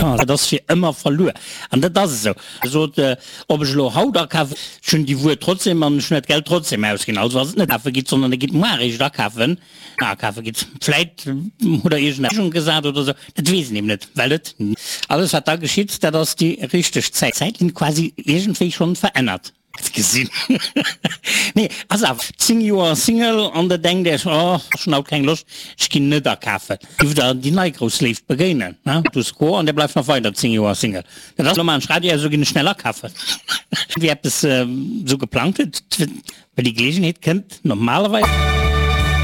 Jo, dat ass fir ëmmer verluer. An dat ass esou. Sot, ob ech elo haut akafen, ech hunn déi Wuer trotzdem an ech hunn dat Geld trotzdem ausginn. Also ass et net kafe gitt, sondern der gitt muar eréischt akafen, akafe gitt. Vläit hutt der iergend eng gesat oder esou, dat weess een eben net, well et alles wat da geschitt, dat ass déi richteg Zäit. D'Zäitlinn quasi iergendwéi schonn verännert. Gesinn. Nee, ass awer 10 Joer Single an der denkt Iech, oh, ech hunn haut keng Loscht, ech ginn net akafen. Giff der déi nei grouss Léift begéinen, ne? Status quo an der bleift nach weider 10 Joer Single. Dat ass, lo maachen ech Radio aus, lo ginn ech schnell akafen. Wie eppes esou geplangt huet, well déi Geleegenheet kënnt normalerweis.